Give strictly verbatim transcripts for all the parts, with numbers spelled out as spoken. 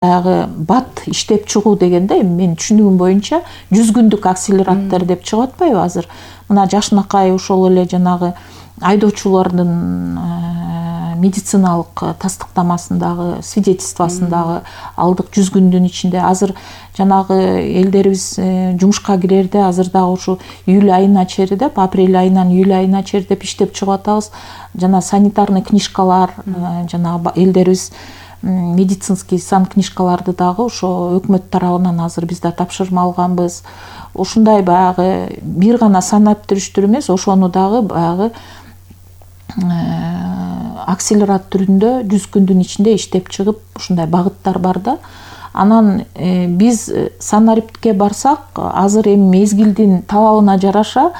Баягы бат иштеп чыгуу дегенде мен түшүнүгүм боюнча жүз күндүк акселераттар деп чыгып атпайбы азыр. Мына Жашынакай ошол эле жанагы айдоочулардын медициналык тастыктамасындагы свидетельствосундагы алдык жүз күндүн ичинде азыр жанагы элдерибиз жумушка кирерде азыр дагы ушу июль айына чейин деп апрель айынан июль айына чейин деп иштеп чыгып атабыз. Жана санитарный книжкалар жанагы элдерибиз медицинский сан книжкаларды дагы ошо өкмөт тарабынан азыр биз да тапшырма алганбыз. Ушундай баягы бир гана санаптүрүштүр эмес, ошону дагы баягы акселерат түрүндө жүз күндүн ичинде иштеп чыгып ушундай багыттар бар да. Анан биз санариптке барсак, азыр эми мезгилдин талабына жараша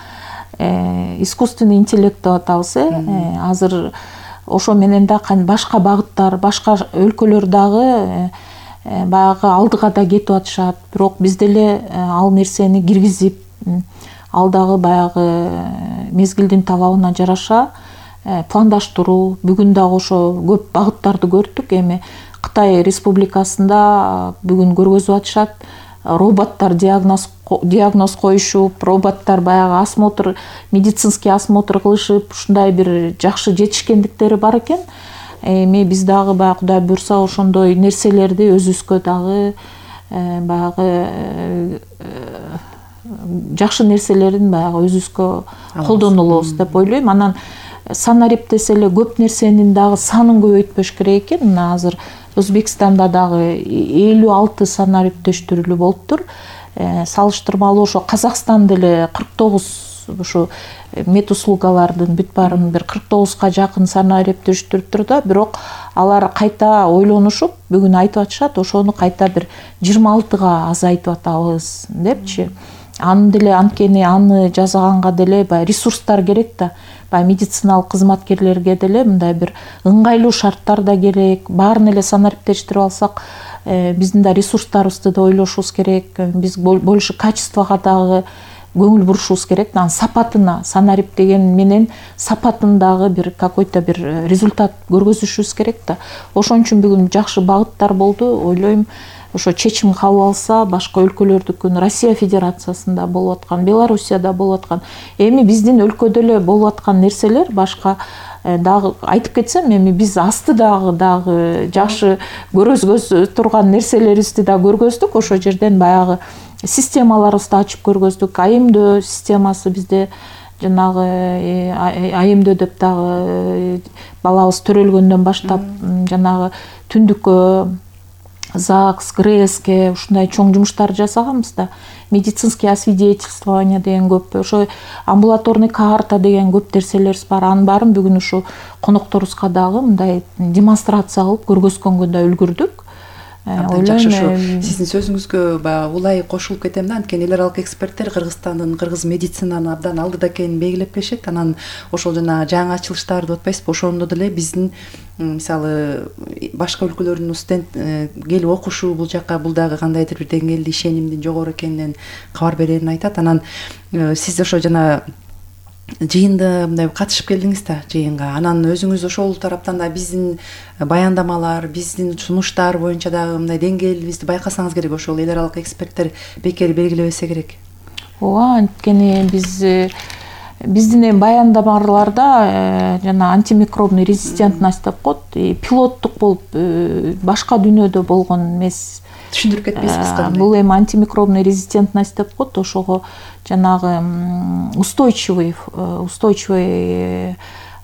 искусственный интеллект деп атабыз, э азыр ошо менен да башка багыттар, башка өлкөлөр дагы баягы алдыга да кетип атышат. Бирок биз деле ал нерсени киргизип, ал дагы баягы мезгилдин талабына жараша пландаштыруу. Бүгүн дагы ошо көп багыттарды көрдүк. Эми Кытай Республикасында бүгүн көргөзүп атышат. Роботтар диагноз диагноз коюшуп, роботтар баягы осмотр, медицинский осмотр кылышып, ушундай бир жакшы жетишкендиктери бар экен. Эми биз дагы баягы Кудай буйрса ошондой нерселерди өзүбүзгө дагы баягы жакшы нерселерин баягы өзүбүзгө колдонулубуз деп ойлойм. Анан санарип десе эле көп нерсенин дагы санын көбөйтпөш керек экен. Мына азыр Өзбекстанда дагы элүү алты санариптештирүүлүү болуптур. Салыштырмалуу ошо Казакстан деле кырк тогуз ушу медуслугалардын бүт баарын бир кырк тогузга жакын санариптештириптир да, бирок алар кайта ойлонушуп бүгүн айтып атышат, ошону кайта бир жыйырма алтыга азайтып атабыз депчи. Аны деле анткени аны жасаганга деле баягы ресурстар керек да. Баягы медициналык кызматкерлерге деле мындай бир ыңгайлуу шарттар да керек. Баарын эле санариптештирип алсак, биздин да ресурстарыбызды да ойлошубуз керек. Биз больше качествого дагы көңүл бурушубуз керек. Анан сапатына, санарип деген менен сапатын дагы бир какой-то бир результат көргөзүшүбүз керек да. Ошон үчүн бүгүн жакшы багыттар болду. Ойлойм, ошо чечим кабыл алса, башка өлкөлөрдүкүн, Россия Федерациясында болуп аткан, Белоруссияда болуп аткан, эми биздин өлкөдө эле болуп аткан нерселер башка дагы айтып кетсем, эми биз асты дагы дагы жакшы көргөзгө турган нерселерибизди да көргөздүк. Ошо жерден баягы системаларыбызды ачып көргөздүк. АИМДөө системасы бизде жанагы АИМДөө деп дагы балабыз төрөлгөндөн баштап жанагы түндүккө, ЗАГС, ГРЭСке ушундай чоң жумуштар жасаганбыз да. Медицинский освидетельствование деген көп, ошо амбулаторный карта деген көп нерселерибиз бар. Анын баарын бүгүн ушу конокторубузга дагы мындай демонстрация кылып көргөзгөнгө да үлгүрдүк. Абдан жакшы. Ушу сиздин сөзүңүзгө баягы улай кошулуп кетем да. Анткени эл аралык эксперттер Кыргызстандын кыргыз медицинаны абдан алдыда экенин белгилеп келишет. Анан ошол жана жаңы ачылыштарды деп атпайсызбы, ошондо деле биздин мисалы башка өлкөлөрдүн студент келип окушу бул жака бул дагы кандайдыр бир деңгээлде ишенимдин жогору экенинен кабар берерин айтат. Анан сиз ошо жана жыйында мындай катышып келдиңиз да жыйынга. Анан өзүңүз ошол тараптан да биздин баяндамалар, биздин сунуштар боюнча дагы мындай деңгээлибизди байкасаңыз керек. Ошол эл аралык эксперттер бекер белгилебесе керек. Ооба, анткени биз биздин эми баяндамаларда жана антимикробный резистентность деп коет, пилоттук болуп башка дүйнөдө болгон эмес. Түшүндүрүп кетпейсизби кандай? Бул эми антимикробный резистентность деп коет, ошого жанагы устойчивый устойчивый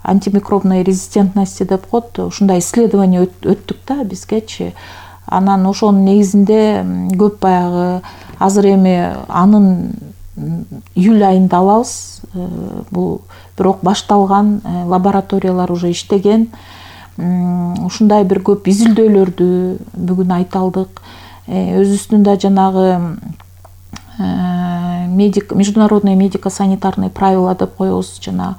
антимикробной резистентности деп коет. Ушундай исследование өттүк да бизгечи. Анан ошонун негизинде көп баягы азыр эми анын июль айында алабыз. Бул бирок башталган, лабораториялар уже иштеген. Ушундай бир көп изилдөөлөрдү бүгүн айта алдык. Өзүбүздүн да жанагы медик международные медико-санитарные правила деп коебуз, жана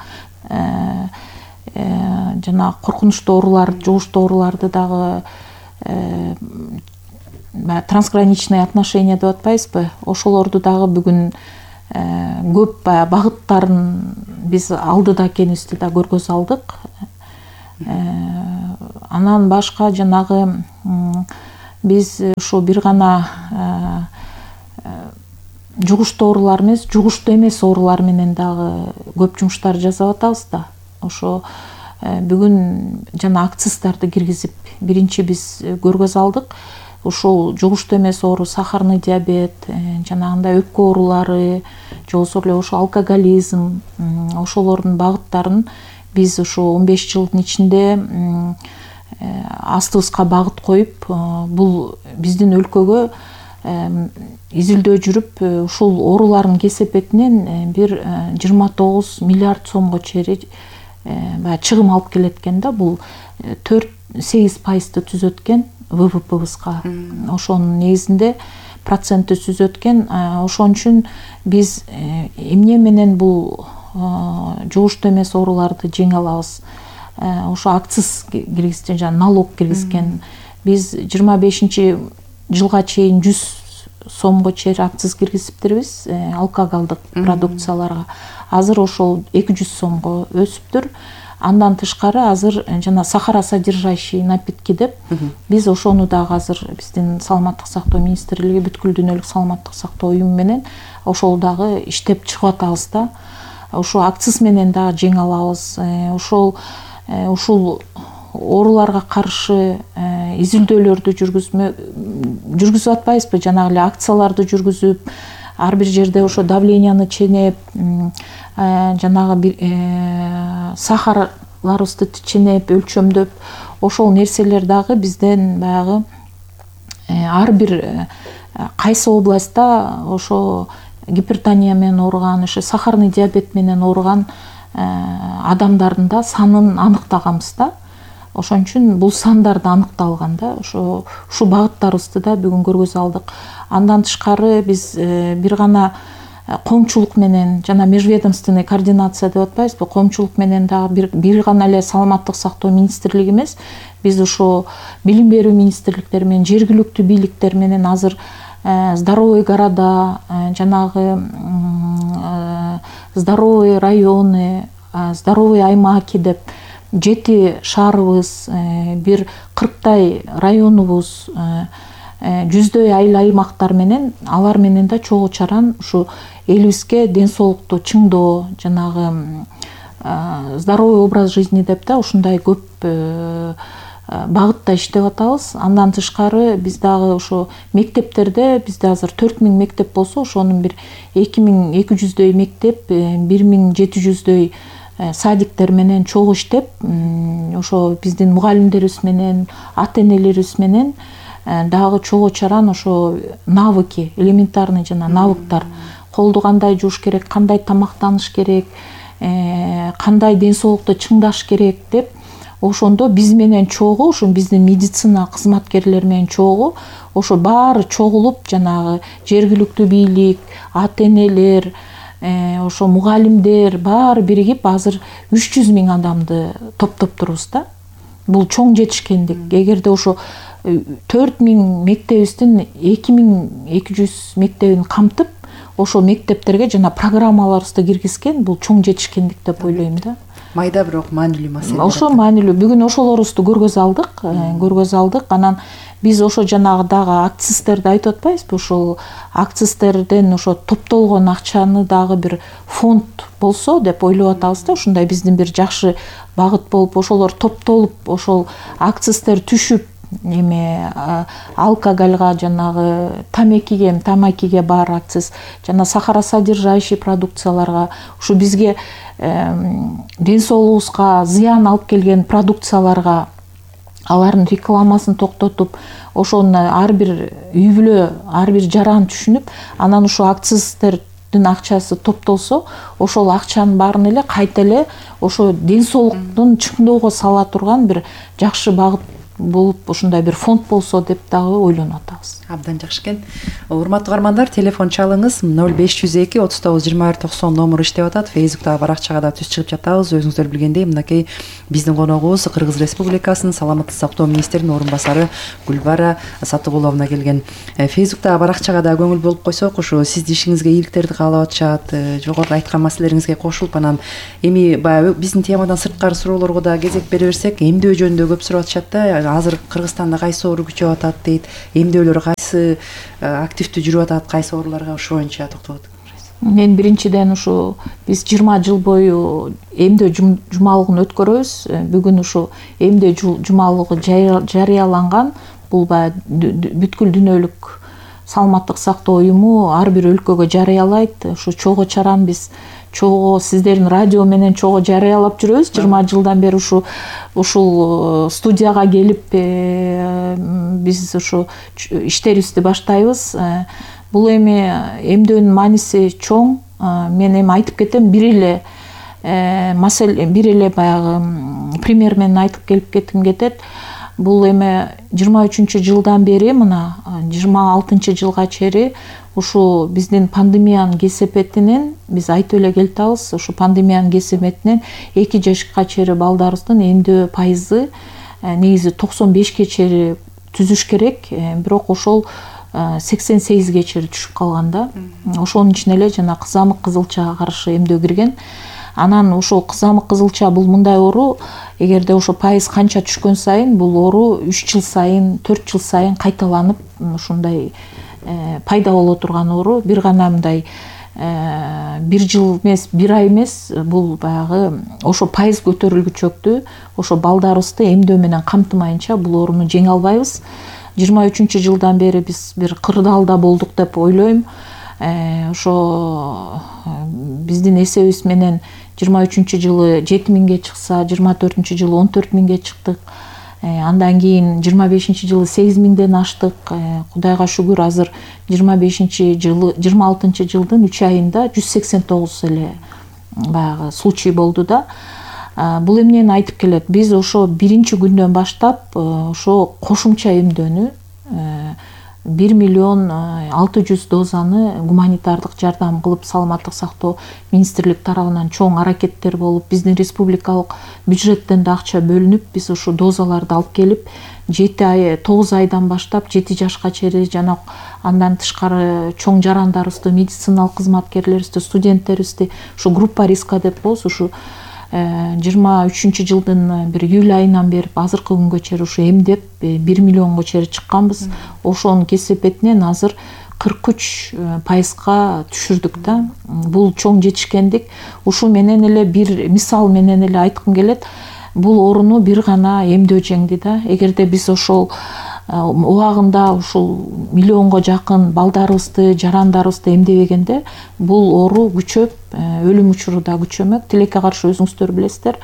жана коркунучтуу оорулар, жугуштуу ооруларды дагы трансграничные отношения деп атпайбызбы, ошолорду дагы бүгүн көп баягы багыттарын биз алдыда экенибизди да көргөзө алдык. Анан башка жанагы биз ошо бир гана жугуштуу оорулар эмес, жугуштуу эмес оорулар менен дагы көп жумуштар жасап атабыз да. Ошо бүгүн жана акциздарды киргизип биринчи биз көргөз алдык. Ушул жугуштуу эмес оору, сахарный диабет, жанагындай өпкө оорулары, же болбосо эле ошо алкоголизм, ошолордун багыттарын биз ошо он беш жылдын ичинде астыбызга багыт коюп, бул биздин өлкөгө изилдөө жүрүп, ушул оорулардын кесепетинен бир жыйырма тогуз миллиард сомго чейин баягы чыгым алып келет экен да. Бул төрт сегиз пайызды түзөт экен вэ вэ пэбызга. Ошонун негизинде процентти түзөт экен. Ошон үчүн биз эмне менен бул жугуштуу эмес ооруларды жеңе алабыз? Ошо акциз киргизген, жана налог киргизген. Биз жыйырма бешинчи жылга чейин жүз сомго чейин акциз киргизиптирбиз алкоголдук продукцияларга. Азыр ошол эки жүз сомго өсүптүр. Андан тышкары азыр жана сахаросодержащий напитки деп биз ошону дагы азыр биздин саламаттык сактоо министрлиги, бүткүл дүйнөлүк саламаттык сактоо уюму менен ошол дагы иштеп чыгып атабыз да. Ошо акциз менен дагы жеңе алабыз. Ошол ушул ооруларга каршы изилдөөлөрдү жүргүзмө жүргүзүп атпайбызбы? Жанагы эле акцияларды жүргүзүп, ар бир жерде ошо давленияны ченеп, жанагы сахарларыбызды ченеп, өлчөмдөп, ошол нерселер дагы бизден баягы ар бир кайсы областта ошо гипертония менен ооруган, ошо сахарный диабет менен ооруган адамдардын да санын аныктаганбыз да. Ошон үчүн бул сандар да аныкталган да. Ошо ушул багыттарыбызды да бүгүн көргөзө алдык. Андан тышкары биз бир гана коомчулук менен жана межведомственный координация деп атпайбызбы? Коомчулук менен дагы бир бир гана эле саламаттык сактоо министрлиги эмес, биз ошо билим берүү министрликтери менен, жергиликтүү бийликтер менен азыр здоровый города, жанагы здоровый районы, здоровый аймаки деп жети шаарыбыз, бир кырктай районубуз, жүздөй айыл аймактар менен, алар менен да чогуу чаран ушу элибизге ден соолукту чыңдоо, жанагы здоровый образ жизни деп да ушундай көп багытта иштеп атабыз. Андан тышкары биз дагы ошо мектептерде, бизде азыр төрт миң мектеп болсо, ошонун бир эки миң эки жүздөй мектеп, бир миң жети жүздөй садиктер менен чогуу иштеп, ошо биздин мугалимдерибиз менен, ата энелерибиз менен дагы чогуу чаран ошо навыки, элементарный жана навыктар, колду кандай жууш керек, кандай тамактаныш керек, кандай ден соолукту чыңдаш керек деп, ошондо биз менен чогуу, ошо биздин медицина кызматкерлери менен чогуу, ошо баары чогулуп, жанагы жергиликтүү бийлик, ата энелер, ошо мугалимдер баары биригип азыр үч жүз миң адамды топтоптурбуз да. Бул чоң жетишкендик. Эгерде ошо төрт миң мектебибиздин эки миң эки жүз мектебин камтып, ошол мектептерге жана программаларыбызды киргизген, бул чоң жетишкендик деп ойлойм да. Майда бирок маанилүү маселе. Ошо маанилүү. Бүгүн ошолорубузду көргөзө алдык, көргөзө алдык. Анан биз ошо жанагы дагы акциздерди айтып атпайбызбы? Ошол акциздерден ошо топтолгон акчаны дагы бир фонд болсо деп ойлоп атабыз да. Ушундай биздин бир жакшы багыт болуп, ошолор топтолуп, ошол акциздер түшүп, эме алкоголга, жанагы тамекиге, тамакиге бар акциз, жана сахаросодержащий продукцияларга, ушу бизге ден соолугубузга зыян алып келген продукцияларга алардын рекламасын токтотуп, ошону ар бир үй бүлө, ар бир жаран түшүнүп, анан ошо акциздердин акчасы топтолсо, ошол акчанын баарын эле кайта эле ошо ден соолуктун чыңдоого сала турган бир жакшы багыт болуп, ушундай бир фонд болсо деп дагы ойлонуп атабыз. Абдан жакшы экен. Урматтуу угармандар, телефон чалыңыз ноль беш жүз эки отуз тогуз жыйырма бир токсон номуру иштеп атат. Фейсбуктагы баракчага да түз чыгып жатабыз. Өзүңүздөр билгендей, мынакей биздин коногубуз Кыргыз Республикасынын саламаттык сактоо министринин орун басары Гүлбара Сатыгуловна келген. Фейсбуктагы баракчага да көңүл болуп койсок, ушу сиздин ишиңизге ийгиликтерди каалап атышат, жогоруда айткан маселелериңизге кошулуп, анан эми баягы биздин темадан сырткары суроолорго да кезек бере берсек, эмдөө жөнүндө көп сурап атышат да. азыр Кыргызстанда кайсы оору күчөп атат дейт, эмдөөлөр кайсы активдүү жүрүп атат, кайсы ооруларга ошо боюнча токтолот. Мен биринчиден ушу биз жыйырма жыл бою эмдөө жумалыгын өткөрөбүз. Бүгүн ушу эмдөө жумалыгы жарыяланган. Бул баягы бүткүл дүйнөлүк саламаттык сактоо уюму ар бир өлкөгө жарыялайт. Ушу чогуу чараны биз чогуу сиздердин радио менен чогуу жарыялап жүрөбүз. жыйырма жылдан бери ушу ушул студияга келип биз ушу иштерибизди баштайбыз. Бул эми эмдөөнүн мааниси чоң. Мен эми айтып кетем, бир эле маселе, бир эле баягы пример менен айтып келип кетким кетет. Бул эми жыйырма үчүнчү жылдан бери мына жыйырма алтынчы жылга чейин ушу биздин пандемиянын кесепетинен биз айтып эле келатабыз. Ушу пандемиянын кесепетинен эки жашка чейин балдарыбыздын эмдөө пайызы негизи токсон бешке чейин түзүш керек, бирок ошол сексен сегизге чейин түшүп калган да. Ошонун ичине эле жана кызамык кызылчага каршы эмдөө кирген. Анан ошол кызамык кызылча бул мындай оору, эгерде ошо пайыз канча түшкөн сайын бул оору үч жыл сайын, төрт жыл сайын кайталанып ушундай пайда боло турган оору. Бир гана мындай бир жыл эмес, бир ай эмес, бул баягы ошо пайыз көтөрүлгүчөктү, ошо балдарыбызды эмдөө менен камтымайынча бул ооруну жеңе албайбыз. жыйырма үчүнчү жылдан бери биз бир кырдаалда болдук деп ойлойм. Ошо биздин эсебибиз менен жыйырма үчүнчү жылы жети миңге чыкса, жыйырма төртүнчү жылы он төрт миңге чыктык. Андан кийин жыйырма бешинчи жылы сегиз миңден аштык. Кудайга шүгүр, азыр жыйырма бешинчи жылы, жыйырма алтынчы жылдын үч айында жүз сексен тогуз эле баягы случай болду да. Бул эмнени айтып келет? Биз ошо биринчи күндөн баштап ошо кошумча эмдөөнү бир миллион алты жүз дозаны гуманитардык жардам кылып, саламаттык сактоо министрлик тарабынан чоң аракеттер болуп, биздин республикалык бюджеттен да акча бөлүнүп, биз ушу дозаларды алып келип, жети ай, тогуз айдан баштап жети жашка чейин жана андан тышкары чоң жарандарыбызды, медициналык кызматкерлерибизди, студенттерибизди ушу группа риска деп коебуз, ушу жыйырма үчүнчү жылдын бир июль айынан бери азыркы күнгө чейин ушу эмдеп бир миллионго чейин чыкканбыз. Ошонун кесепетинен азыр кырк үч пайызга түшүрдүк да. Бул чоң жетишкендик. Ушу менен эле бир мисал менен эле айткым келет. Бул ооруну бир гана эмдөө жеңди да. Эгерде биз ошол убагында ушул миллионго жакын балдарыбызды, жарандарыбызды эмдебегенде бул оору күчөп, өлүм учуру да күчөмөк. Тилекке каршы өзүңүздөр билесиздер,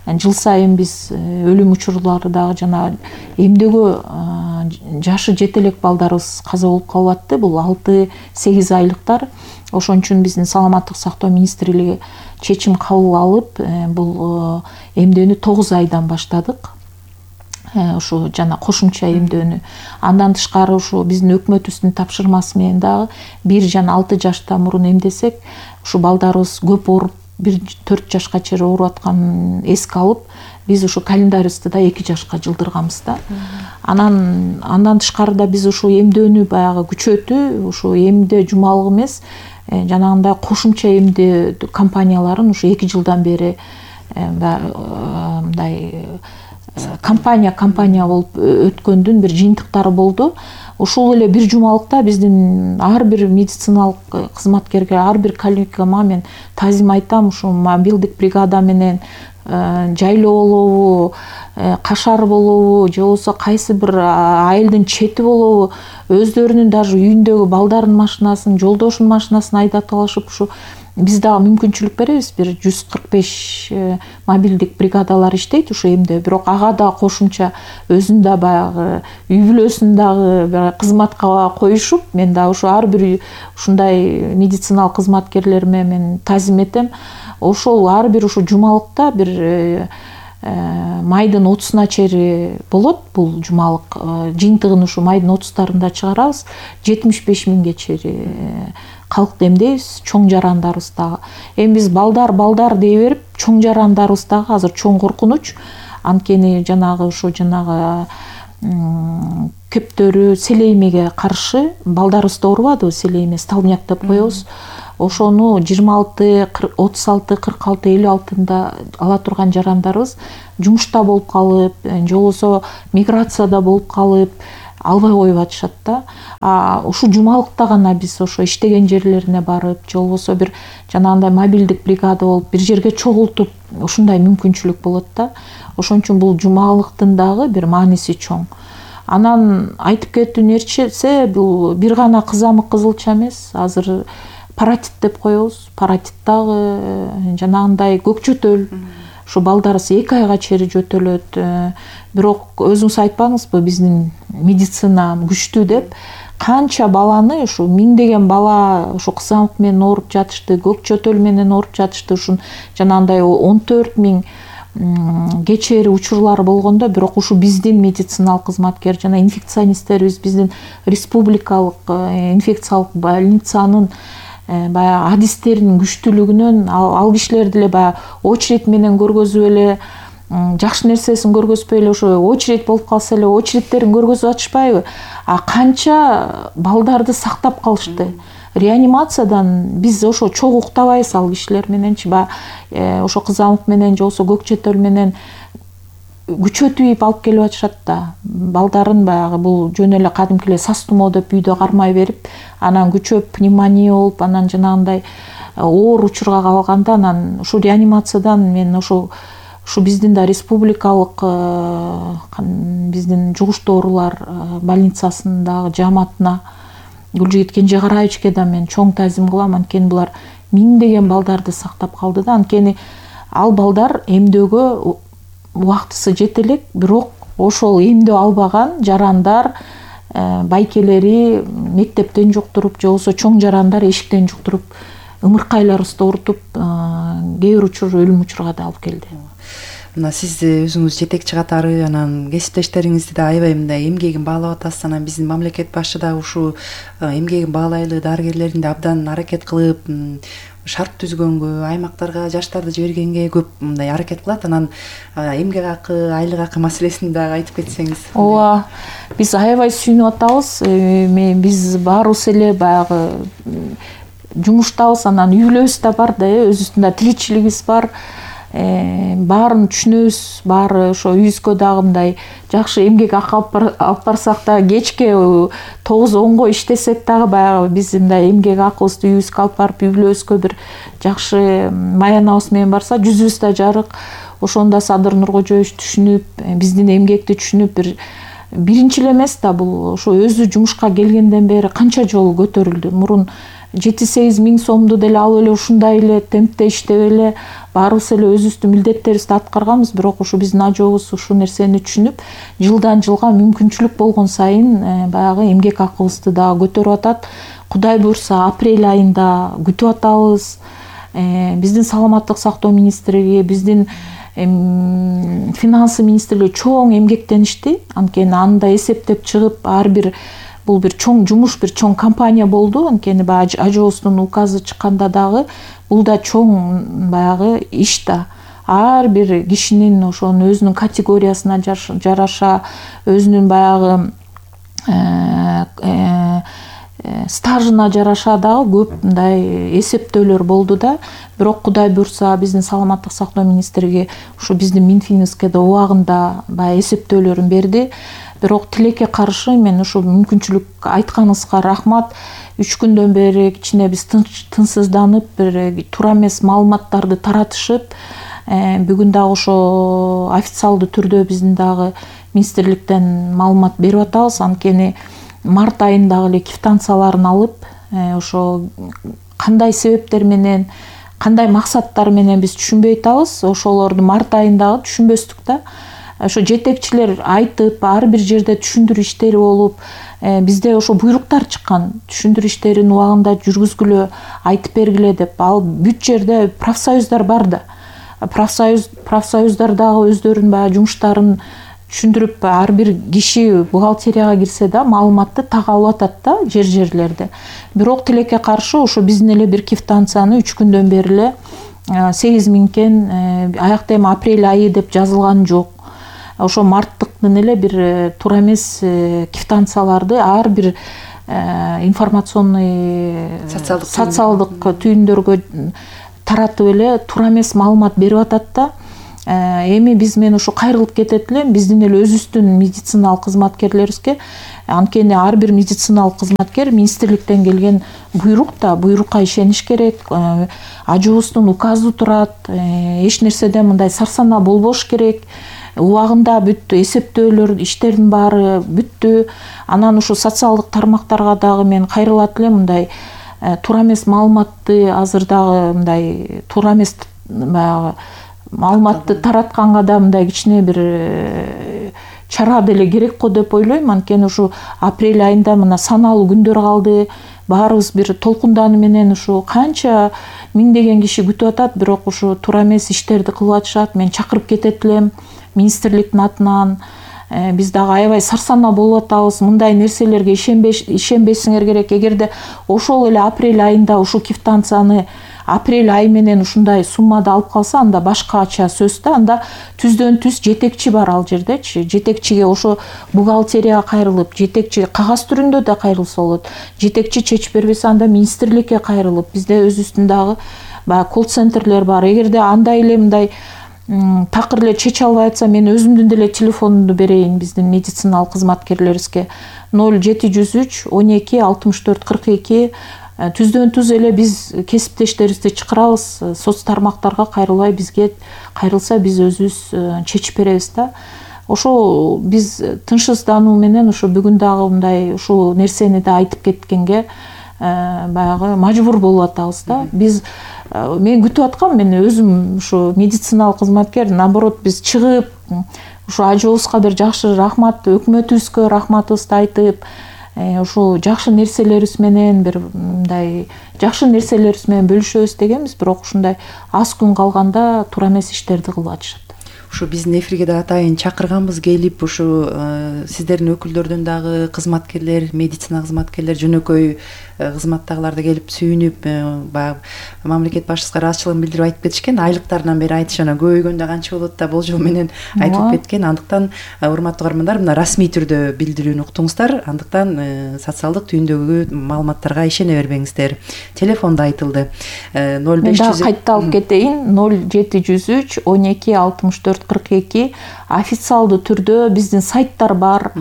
жыл сайын биз өлүм учурлары дагы жана эмдөөгө жашы жете элек балдарыбыз каза болуп калып атты. Бул алты сегиз айлыктар. Ошон үчүн биздин саламаттык сактоо министрлиги чечим кабыл алып, бул эмдөөнү тогуз айдан баштадык. Ушу жана кошумча эмдөөнү. Андан тышкары ушу биздин өкмөтүбүздүн тапшырмасы менен дагы бир жана алты жаштан мурун эмдесек, ушу балдарыбыз көп ооруп, бир төрт жашка чейин ооруп атканын эске алып, биз ушу календарыбызды да эки жашка жылдырганбыз да. Анан андан тышкары да биз ушу эмдөөнү баягы күчөтүү, ушу эмдөө жумалыгы эмес, жанагындай кошумча эмдөө компанияларын ушу эки жылдан бери мындай компания компания болуп өткөндүн бир жыйынтыктары болду. Ушул эле бир жумалыкта биздин ар бир медициналык кызматкерге, ар бир коллегама мен тазим айтам, ушу мобилдик бригада менен жайлоо болобу, кашар болобу, же болбосо кайсы бир айылдын чети болобу, өздөрүнүн даже үйүндөгү балдарынын машинасын, жолдошунун машинасын айдатып алышып, ушу биз дагы мүмкүнчүлүк беребиз. Бир жүз кырк беш мобилдик бригадалар иштейт ушу эмде. Бирок ага да кошумча өзүн да баягы үй бүлөсүн дагы кызматка коюшуп, мен да ушу ар бир ушундай медициналык кызматкерлериме мен тазим этем. Ошол ар бир ушу жумалыкта бир майдын отузуна чейин болот бул жумалык. Жыйынтыгын ушу майдын отуздарында чыгарабыз. жетимиш беш миңге чейин калкты эмдейбиз, чоң жарандарыбыз дагы. Эми биз балдар балдар дей берип, чоң жарандарыбыз дагы азыр чоң коркунуч. Анткени жанагы ушу жанагы кептөрү селеймеге каршы балдарыбызды оорубадыбы, селейме, столбняк деп коебуз. ошону жыйырма алты отуз алты кырк алты элүү алтында ала турган жарандарыбыз жумушта болуп калып же болбосо миграцияда болуп калып албай коюп атышат да. А ушул жумалыкта гана биз ошо иштеген жерлерине барып же болбосо бир жанагындай мобилдик бригада болуп бир жерге чогултуп ушундай мүмкүнчүлүк болот да. Ошон үчүн бул жумалыктын дагы бир мааниси чоң. Анан айтып кетүү нерсе, бул бир гана кызамык кызылча эмес, азыр паратит деп коебуз. Паратит дагы жанагындай көк жөтөл. Ушу балдарыбыз эки айга чейин жөтөлөт. Бирок өзүңүз айтпаңызбы, биздин медицина күчтүү деп. Канча баланы, ушу миңдеген бала ушу кызамык менен ооруп жатышты, көк жөтөл менен ооруп жатышты. Ушун жанагындай он төрт миң кечээри учурлар болгондо, бирок ушу биздин медициналык кызматкер жана инфекционисттерибиз биздин республикалык инфекциялык больницанын баягы адистеринин күчтүүлүгүнөн ал кишилер деле баягы очередь менен көргөзүп эле жакшы нерсесин көргөзбөй эле ошо очередь болуп калса эле очередьтерин көргөзүп атышпайбы? А канча балдарды сактап калышты. Реанимациядан биз ошо чогуу уктабайбыз ал кишилер мененчи, баягы ошо кызамык менен же болбосо көк жөтөл менен күчөтүп алып келип атышат да. Балдарын баягы бул жөн эле кадимки эле сас тумоо деп үйдө кармай берип, анан күчөп пневмония болуп, анан жанагындай оор учурга калганда, анан ушу реанимациядан мен ошо ушу биздин да республикалык биздин жугуштуу оорулар больницасындагы жааматына Гүлжигит Кенжегараевичке да мен чоң таазим кылам. Анткени булар миңдеген балдарды сактап калды да. Анткени ал балдар эмдөөгө убактысы жете элек, бирок ошол эмдөө албаган жарандар байкелери мектептен жуктуруп же болбосо чоң жарандар эшиктен жуктуруп ымыркайларыбызды оорутуп кээ бир учур өлүм учурга да алып келди. Мына сиз өзүңүз жетекчи катары анан кесиптештериңизди да аябай мындай эмгегин баалап атасыз. Анан биздин мамлекет башы да ушу эмгегин баалайлы дарыгерлердин да абдан аракет кылып, шарт түзгөнгө, аймактарга жаштарды жибергенге көп мындай аракет кылат. Анан эмгек акы, айлык акы маселесин дагы айтып кетсеңиз. Ооба, биз аябай сүйүнүп атабыз. Биз баарыбыз эле баягы жумуштабыз, анан үйлөөбүз да бар да, өзүбүздүн да тиричилигибиз бар. Баарын түшүнөбүз, баары ошо үйүбүзгө дагы мындай жакшы эмгек акы алып барсак да, кечке тогуз онго иштесек дагы баягы биз мындай эмгек акыбызды үйүбүзгө алып барып, үйлөөбүзгө бир жакшы маянабыз менен барса, жүзүбүз да жарык. Ошондо Садыр Нуркожоевич түшүнүп, биздин эмгекти түшүнүп, бир биринчи эле эмес да, бул ошо өзү жумушка келгенден бери канча жолу көтөрүлдү. Мурун жети сегиз миң сомду деле алып эле ушундай эле темпте иштеп эле баарыбыз эле өзүбүздүн милдеттерибизди аткарганбыз. Бирок ушу биздин ажообуз ушул нерсени түшүнүп, жылдан жылга мүмкүнчүлүк болгон сайын баягы эмгек акыбызды дагы көтөрүп атат. Кудай буйрса апрель айында күтүп атабыз. Биздин саламаттык сактоо министрлиги, биздин финансы министрлиги чоң эмгектеништи. Анткени анда эсептеп чыгып, ар бир бул бир чоң жумуш, бир чоң компания болду. Анткени баягы ажообуздун указы чыкканда дагы бул да чоң баягы иш да. Ар бир кишинин ошонун өзүнүн категориясына жараша, өзүнүн баягы стажына жараша дагы көп мындай эсептөөлөр болду да. Бирок Кудай буйрса биздин саламаттык сактоо министрлиги ушу биздин Минфинибизге да убагында баягы эсептөөлөрүн берди. Бирок тилекке каршы мен ушу мүмкүнчүлүк айтканыңызга рахмат. Үч күндөн бери кичине биз тынчсызданып, бир туура эмес маалыматтарды таратышып, бүгүн дагы ошо официалдуу түрдө биздин дагы министрликтен маалымат берип атабыз. Анткени март айындагы эле квитанцияларын алып, ошо кандай себептер менен, кандай максаттар менен биз түшүнбөй атабыз. Ошолорду март айындагы түшүнбөстүк да. Ошо жетекчилер айтып, ар бир жерде түшүндүрүү иштери болуп, бизде ошо буйруктар чыккан. Түшүндүрүү иштерин убагында жүргүзгүлө, айтып бергиле деп. Ал бүт жерде профсоюздар бар да. Профсоюз профсоюздар дагы өздөрүнүн баягы жумуштарын түшүндүрүп, ар бир киши бухгалтерияга кирсе да маалыматты так алып атат да жер-жерлерде. Бирок тилекке каршы ошо биздин эле бир квитанцияны үч күндөн бери эле сегиз миңден аякта эми апрель айы деп жазылган жок. Ошо марттыктын эле бир туура эмес квитанцияларды ар бир информационный социалдык түйүндөргө таратып эле туура эмес маалымат берип атат да. Эми биз мен ушу кайрылып кетет элем биздин эле өзүбүздүн медициналык кызматкерлерибизге. Анткени ар бир медициналык кызматкер министрликтен келген буйрук да, буйрукка ишениш керек. Ажуубуздун указы турат, эч нерседен мындай сарсанаа болбош керек. Убагында бүттү, эсептөөлөр, иштердин баары бүттү. Анан ушу социалдык тармактарга дагы мен кайрылат элем, мындай туура эмес маалыматты азыр дагы мындай туура эмес баягы маалыматты таратканга да мындай кичине бир чара деле керек го деп ойлойм. Анткени ушу апрель айында мына саналуу күндөр калды. Баарыбыз бир толкундааны менен ушу канча миңдеген киши күтүп атат, бирок ушу туура эмес иштерди кылып атышат. Мен чакырып кетет элем министрликтин атынан. Биз дагы аябай сарсанаа болуп атабыз. Мындай нерселерге ишенбесиңер керек. Эгерде ошол эле апрель айында ушу квитанцияны апрель айы менен ушундай суммада алып калса, анда башкача сөз да. Анда түздөн түз жетекчи бар ал жердечи. Жетекчиге ошо бухгалтерияга кайрылып, жетекчи кагаз түрүндө да кайрылса болот. Жетекчи чечип бербесе, анда министрликке кайрылып, бизде өзүбүздүн дагы баягы колл-центрлер бар. Эгерде андай эле мындай такыр эле чече албай атса, мен өзүмдүн деле телефонумду берейин биздин медициналык кызматкерлерибизге. ноль жети жүз үч он эки алтымыш төрт кырк эки. Түздөн түз эле биз кесиптештерибизди чакырабыз. Соц тармактарга кайрылбай бизге кайрылса, биз өзүбүз чечип беребиз да. Ошо биз тынчсыздануу менен ошо бүгүн дагы мындай ушул нерсени да айтып кеткенге баягы мажбур болуп атабыз да. Биз мен күтүп аткам, мен өзүм ушу медициналык кызматкер, наоборот биз чыгып ушу ажообузга бир жакшы рахмат, өкмөтүбүзгө рахматыбызды айтып, ушул жакшы нерселерибиз менен бир мындай жакшы нерселерибиз менен бөлүшөбүз дегенбиз, бирок ушундай аз күн калганда туура эмес иштерди кылып атышат. Ушу биздин эфирге да атайын чакырганбыз, келип ушу сиздердин өкүлдөрдөн дагы кызматкерлер, медицина кызматкерлер, жөнөкөй кызматтагылар да келип сүйүнүп, баягы мамлекет башчысына ыраазычылыгын билдирип айтып кетишкен. Айлыктарынан бери айтышына көбөйгөндө канча болот да болжол менен айтып кеткен. Андыктан урматтуу угармандар, мына расмий түрдө билдирүүнү уктуңуздар. Андыктан социалдык түйүндөгү маалыматтарга ишене бербеңиздер. Телефон да айтылды. ноль беш жүз кайта алып кетейин. ноль жети жүз үч он эки алтымыш төрт кырк эки. Официалдуу түрдө биздин сайттар бар.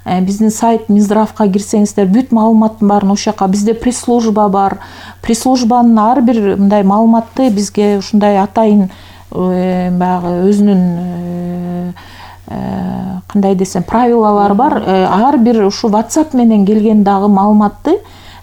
Биздин сайт Минздравга кирсеңиздер, бүт маалыматтын баарын ошол жака. Бизде пресс-служба бар. Пресс-службанын ар бир мындай маалыматты бизге ушундай атайын баягы өзүнүн кандай десем правилалары бар. Ар бир ушу WhatsApp менен келген дагы маалыматты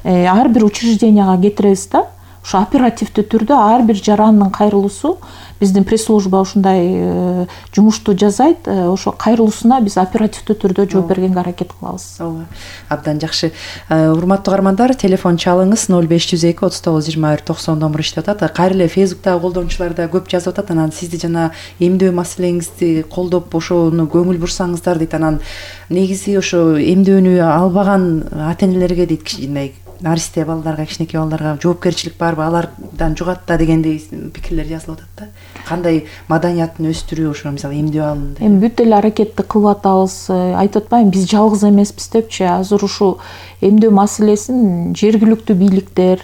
ар бир учрежденияга кетиребиз да. Ушу оперативдүү түрдө ар бир жарандын кайрылуусу биздин пресс-служба ушундай жумушту жасайт. Ошо кайрылуусуна биз оперативдүү түрдө жооп бергенге аракет кылабыз. Ооба. Абдан жакшы. Урматтуу угармандар, телефон чалыңыз ноль беш жүз эки отуз тогуз жыйырма бир токсон номуру иштеп атат. Кайра эле Facebook'тагы колдонуучулар да көп жазып атат. Анан сизди жана эмдөө маселеңизди колдоп ошону көңүл бурсаңыздар дейт. Анан негизи ошо эмдөөнү албаган ата-энелерге дейт, кичине наристе балдарга, кичинекей балдарга жоопкерчилик барбы, алардан жугат да дегендей пикирлер жазылып атат да. Кандай маданиятын өстүрүү, ошо мисалы эмдөө алымында. Эми бүт эле аракетти кылып атабыз. Айтып атпайм, биз жалгыз эмеспиз депчи. Азыр ушу эмдөө маселесин жергиликтүү бийликтер,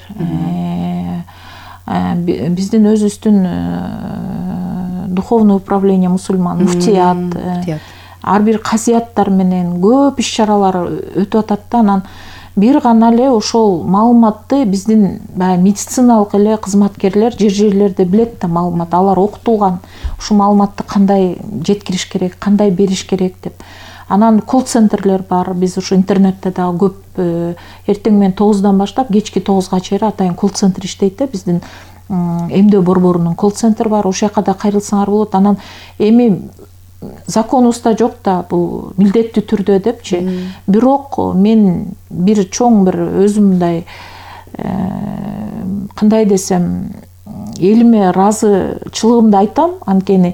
биздин өзүбүздүн духовный управление мусульман, муфтият, ар бир казияттар менен көп иш-чаралар өтүп атат да. Анан бир гана эле ошол маалыматты биздин медициналык эле кызматкерлер жер жерлерде билет да маалымат. Алар окутулган. Ушул маалыматты кандай жеткириш керек, кандай бериш керек деп. Анан колл-центрлер бар. Биз ушу интернетте дагы көп эртең менен тогуздан баштап кечки тогузга чейин атайын колл-центр иштейт да. Биздин эмдөө борборунун колл-центри бар. Ошол жака да кайрылсаңар болот. Анан эми законубузда жок да бул милдеттүү түрдө депчи. Бирок мен бир чоң бир өзүм мындай кандай десем элиме ыраазычылыгымды айтам. Анткени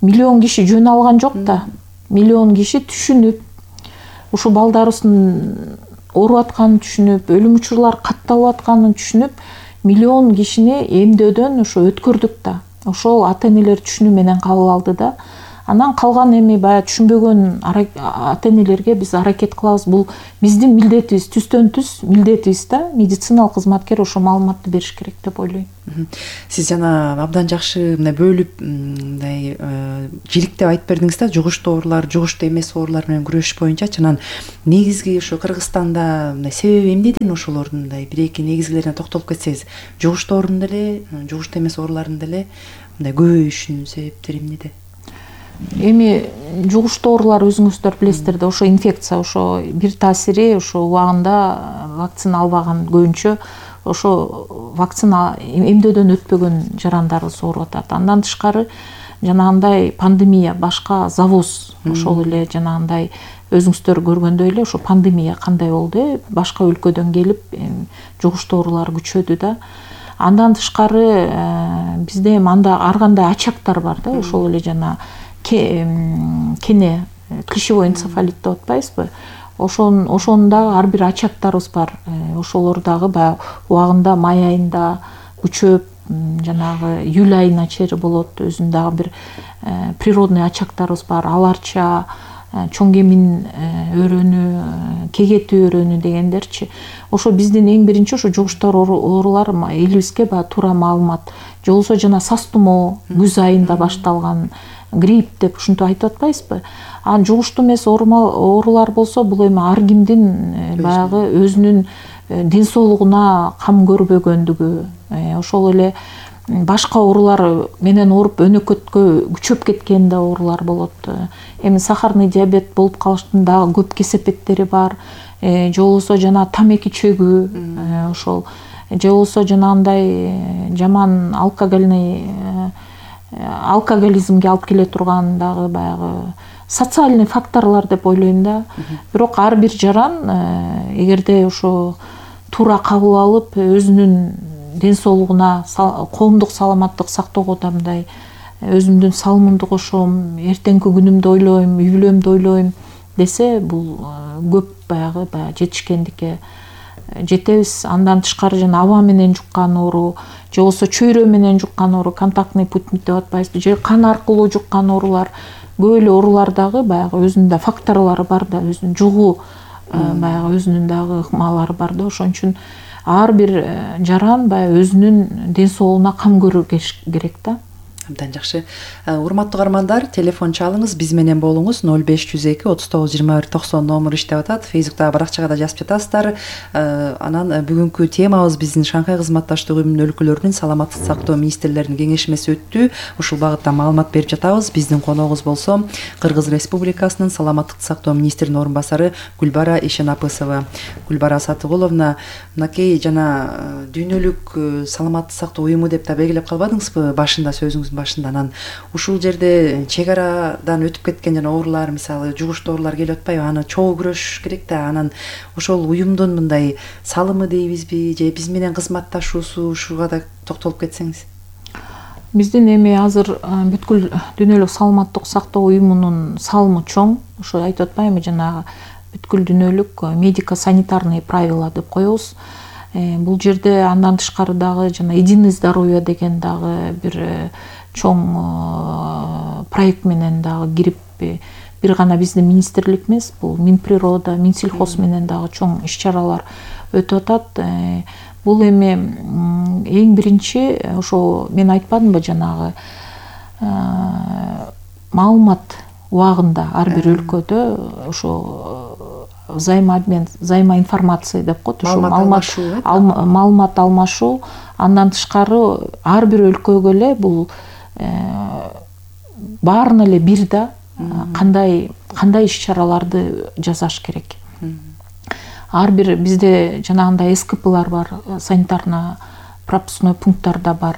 миллион киши жөн алган жок да. Миллион киши түшүнүп, ушу балдарыбыздын ооруп атканын түшүнүп, өлүм учурлар катталып атканын түшүнүп, миллион кишини эмдөөдөн ушу өткөрдүк да. Ошол ата-энелер түшүнүү менен кабыл алды да. Анан калган эми баягы түшүнбөгөн ата энелерге биз аракет кылабыз. Бул биздин милдетибиз, түздөн түз милдетибиз да. Медициналык кызматкер ошо маалыматты бериш керек деп ойлойм. Сиз жана абдан жакшы мындай бөлүп мындай жиликтеп айтып бердиңиз да, жугуштуу оорулар, жугуштуу эмес оорулар менен күрөшүш боюнчачы. Анан негизги ошо Кыргызстанда мындай себеби эмнеден ошолордун мындай бир эки негизгилерине токтолуп кетсеңиз, жугуштуу оорунун деле, жугуштуу эмес оорулардын деле мындай көбөйүшүнүн себептери эмнеде? Эми жугуштуу оорулар өзүңүздөр билесиздер да, ошо инфекция, ошо бир таасири ошо убагында вакцина албаган көбүнчө ошо вакцина эмдөөдөн өтпөгөн жарандарыбыз ооруп атат. Андан тышкары жанагындай пандемия, башка завоз, ошол эле жанагындай өзүңүздөр көргөндөй эле ошо пандемия кандай болду, э башка өлкөдөн келип жугуштуу оорулар күчөдү да. Андан тышкары бизде эми анда ар кандай очактар бар да, ошол эле жана кене клещевой энцефалит деп атпайбызбы? Ошон ошонун дагы ар бир очактарыбыз бар. Ошолор дагы баягы убагында май айында күчөп, жанагы июль айына чейин болот. Өзүнүн дагы бир природный очактарыбыз бар. Аларча, чоң кемин өрөнү, кегети өрөнү дегендерчи. Ошо биздин эң биринчи ошо жугуштуу оорулар элибизге баягы туура маалымат. Же болбосо жана сас тумоо күз айында башталган, грипп деп ушинтип айтып атпайбызбы? Анан жугуштуу эмес оорулар болсо, бул эми ар кимдин баягы өзүнүн ден соолугуна кам көрбөгөндүгү, ошол эле башка оорулар менен ооруп өнөкөткө күчөп кеткен да оорулар болот. Эми сахарный диабет болуп калыштын дагы көп кесепеттери бар. Же болбосо жана тамеки чөгүү, ошол же болбосо жанагындай жаман алкогольный алкоголизмге алып келе турган дагы баягы социальный факторлор деп ойлойм да. Бирок ар бир жаран эгерде ошо туура кабыл алып, өзүнүн ден соолугуна, коомдук саламаттык сактоого да мындай өзүмдүн салымымды кошом, эртеңки күнүмдү ойлойм, үй бүлөмдү ойлойм десе, бул көп баягы баягы жетишкендикке жетебиз. Андан тышкары жана аба менен жуккан оору, же болбосо чөйрө менен жуккан оору, контактный путь деп атпайбызбы, же кан аркылуу жуккан оорулар, көп эле оорулар дагы баягы өзүнүн да факторлору бар да, өзүнүн жугуу баягы өзүнүн дагы ыкмалары бар да. Ошон үчүн ар бир жаран баягы өзүнүн ден соолугуна кам көрүш керек да. Абдан жакшы. Урматтуу каармандар, телефон чалыңыз, биз менен болуңуз. ноль беш жүз эки отуз тогуз жыйырма бир токсон номуру иштеп атат. Фейсбуктагы баракчага да жазып жатасыздар. Анан бүгүнкү темабыз биздин Шанхай кызматташтык уюмунун өлкөлөрүнүн саламаттык сактоо министрлеринин кеңешмеси өттү. Ушул багытта маалымат берип жатабыз. Биздин коногубуз болсо Кыргыз Республикасынын саламаттык сактоо министринин орун басары Гүлбара Ишенапысова. Гүлбара Сатыгуловна, мынакей жана дүйнөлүк саламаттык сактоо уюму деп да белгилеп калбадыңызбы башында сөзүңүз башында? Анан ушул жерде чек арадан өтүп кеткен жана оорулар, мисалы жугуштуу оорулар келип атпайбы? Аны чогуу күрөшүш керек да. Анан ошол уюмдун мындай салымы дейбизби, же биз менен кызматташуусу, ушуга да токтолуп кетсеңиз. Биздин эми азыр бүткүл дүйнөлүк саламаттык сактоо уюмунун салымы чоң. Ошо айтып атпаймынбы, жанагы бүткүл дүйнөлүк медико-санитарный правила деп коебуз. Бул жерде андан тышкары дагы жана единый здоровье деген дагы бир чоң проект менен дагы кирип, бир гана биздин министрлик эмес, бул Минприрода, Минсельхоз менен дагы чоң иш-чаралар өтүп атат. Бул эми эң биринчи ошо мен айтпадымбы, жанагы маалымат убагында ар бир өлкөдө ошо взаимообмен, взаимоинформация деп коет, ошо маалымат алмашуу. Андан тышкары ар бир өлкөгө эле бул баарына эле бир да кандай кандай иш-чараларды жасаш керек. Ар бир бизде жанагындай СКПлар бар, санитарно пропускной пункттарда бар.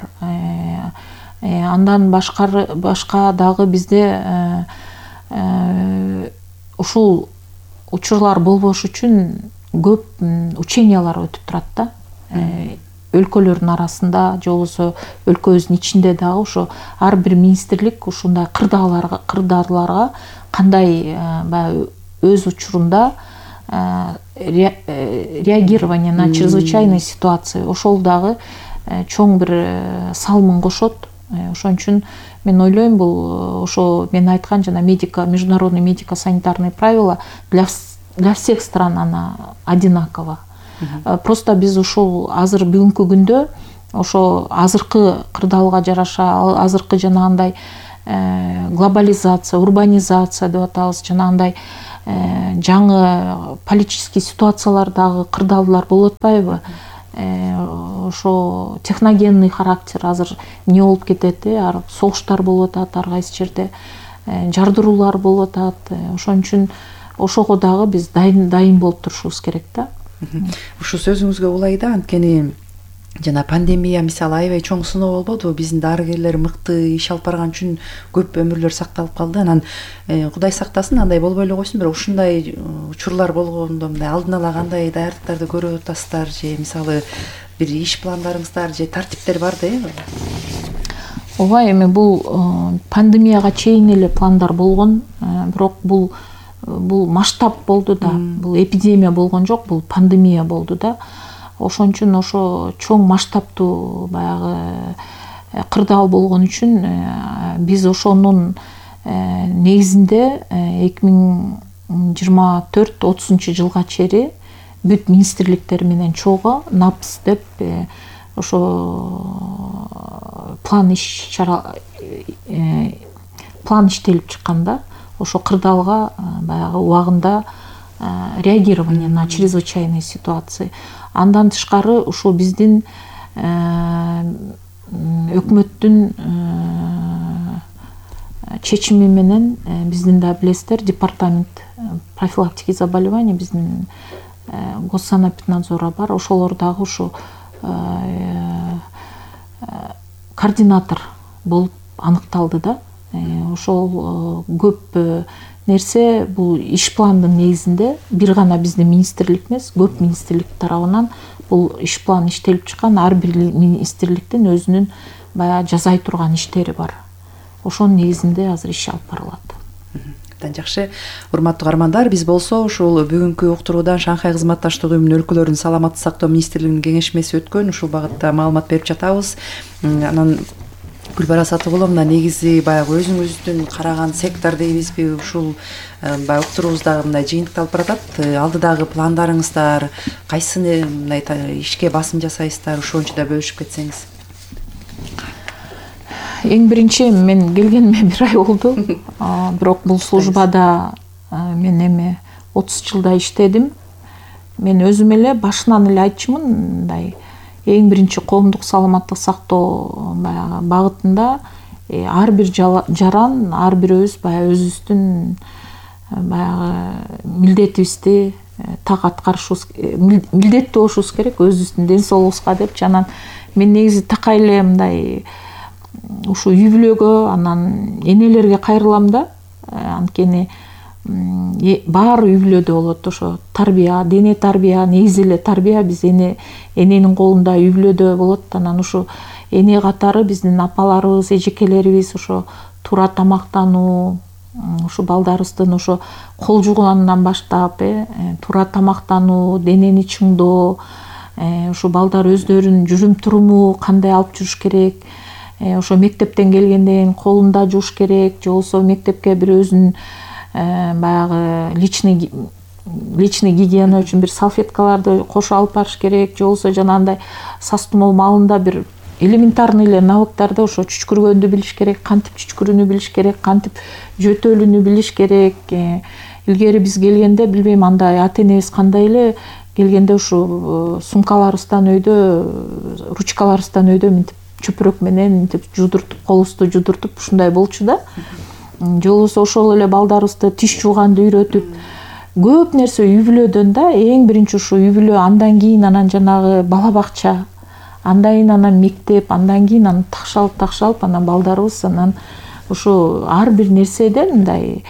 Андан башка башка дагы бизде ушул учурлар болбош үчүн көп учениялар өтүп турат да. Өлкөлөрдүн арасында, же болбосо өлкөбүздүн ичинде дагы ошо ар бир министрлик ушундай кырдааларга кырдааларга кандай баягы өз учурунда реагирование на чрезвычайные ситуации ошол дагы чоң бир салымын кошот. Ошон үчүн мен ойлойм, бул ошо мен айткан жана медико международный медико-санитарные правила для для всех стран она одинаково. Просто биз ушул азыр бүгүнкү күндө ошо азыркы кырдаалга жараша, азыркы жанагындай глобализация, урбанизация деп атабыз, жанагындай жаңы политический ситуациялардагы кырдаалдар болуп атпайбы? Ошо техногенный характер азыр эмне болуп кетет, ар согуштар болуп атат, ар кайсы жерде жардыруулар болуп атат. Ошон үчүн ошого дагы биз дайын дайын болуп турушубуз керек да. Ушул сөзүңүзгө улай да, анткени жана пандемия мисалы аябай чоң сыноо болбодубу, биздин дарыгерлер мыкты иш алып барган үчүн көп өмүрлөр сакталып калды. Анан Кудай сактасын андай болбой эле койсун, бирок ушундай учурлар болгондо мындай алдын ала кандай даярдыктарды көрүп атасыздар, же мисалы бир иш пландарыңыздар же тартиптер барбы? Ооба, эми бул пандемияга чейин эле пландар болгон, бирок бул бул масштаб болду да, бул эпидемия болгон жок, бул пандемия болду да. Ошон үчүн ошо чоң масштабтуу баягы кырдаал болгон үчүн биз ошонун негизинде эки миң жыйырма төрт отузунчу жылга чейин бүт министрликтер менен чогуу напс деп ошо план иш чара план иштелип чыккан да. Ошо кырдаалга баягы убагында реагирование на чрезвычайные ситуации. Андан тышкары ушул биздин өкмөттүн чечими менен биздин да билесиздер департамент профилактики заболеваний биздин госсанэпиднадзора бар. Ошолор дагы ушу координатор болуп аныкталды да. Ошол көп нерсе бул иш пландын негизинде бир гана биздин министрлик эмес, көп министрлик тарабынан бул иш план иштелип чыккан. Ар бир министрликтин өзүнүн баягы жасай турган иштери бар. Ошонун негизинде азыр иш алып барылат. Абдан жакшы. Урматтуу каармандар, биз болсо ушул бүгүнкү уктуруудан Шанхай кызматташтык уюмунун өлкөлөрүнүн саламаттык сактоо министрлигинин кеңешмеси өткөн, ушул багытта маалымат берип жатабыз. Анан Гүлбара Сатыбулова, мына негизи баягы өзүңүздүн караган сектор дейбизби, ушул баягы уктуруубуздагы мындай жыйынтыкталып баратат. Алдыдагы пландарыңыздар кайсыны мындай ишке басым жасайсыздар, ошончу да бөлүшүп кетсеңиз. Эң биринчи мен келгениме бир ай болду. Бирок бул службада мен эми отуз жылда иштедим. Мен өзүм эле башынан эле айтчумун, мындай эң биринчи коомдук саламаттык сактоо баягы багытында ар бир жаран, ар бирөөбүз баягы өзүбүздүн баягы милдетибизди так аткарышыбыз, милдеттүү болушубуз керек өзүбүздүн ден соолугубузга депчи. Анан мен негизи такай эле мындай ушу үй бүлөгө, анан энелерге кайрылам да. Анткени баары үй бүлөдө болот ошо тарбия, дене тарбия, негизи эле тарбия биз эне эненин колунда үй бүлөдө болот. Анан ушу эне катары биздин апаларыбыз, эжекелерибиз ошо туура тамактануу, ушу балдарыбыздын ошо кол жуганынан баштап, туура тамактануу, денени чыңдоо, ушу балдар өздөрүнүн жүрүм туруму кандай алып жүрүш керек, ошо мектептен келгенден колун жууш керек, же болбосо мектепке бир өзүнүн баягы личный личный гигиена үчүн бир салфеткаларды кошо алып барыш керек, же болбосо жанагындай сас тумоо маалында бир элементарный эле навыктарды, ошо чүчкүргөндү билиш керек, кантип чүчкүрүүнү билиш керек, кантип жөтөлүүнү билиш керек. Илгери биз келгенде билбейм андай ата энебиз кандай эле келгенде ушу сумкаларыбыздан өйдө, ручкаларыбыздан өйдө мынтип чөпүрөк менен мынтип жудуртуп, колубузду жудуртуп ушундай болчу да. Же болбосо ошол эле балдарыбызды тиш жууганды үйрөтүп, көп нерсе үй бүлөдөн да. Эң биринчи ушу үй бүлө, андан кийин анан жанагы бала бакча, андан кийин анан мектеп, андан кийин анан такшалып такшалып анан балдарыбыз анан ушу ар бир нерседен мындай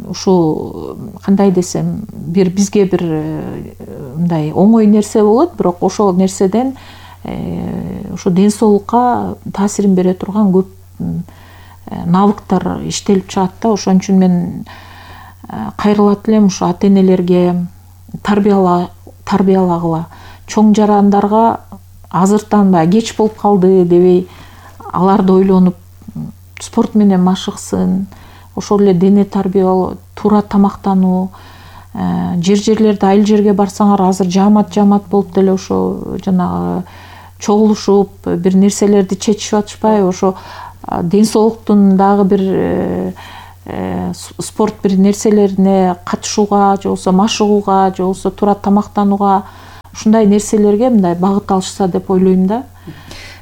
ушу кандай десем, бир бизге бир мындай оңой нерсе болот, бирок ошол нерседен ошо ден соолукка таасирин бере турган көп навыктар иштелип чыгат да. Ошон үчүн мен кайрылат элем ушу ата энелерге, тарбиялагыла, чоң жарандарга азыртан баягы кеч болуп калды дебей, аларды ойлонуп спорт менен машыксын, ошол эле дене тарбиялоо, туура тамактануу, жер жерлерде айыл жерге барсаңар азыр жаамат жаамат болуп деле ошо жанагы чогулушуп бир нерселерди чечип атышпайбы, ошо ден соолуктун дагы бир спорт бир нерселерине катышууга, же болбосо машыгууга, же болбосо туура тамактанууга, ушундай нерселерге мындай багыт алышса деп ойлойм да.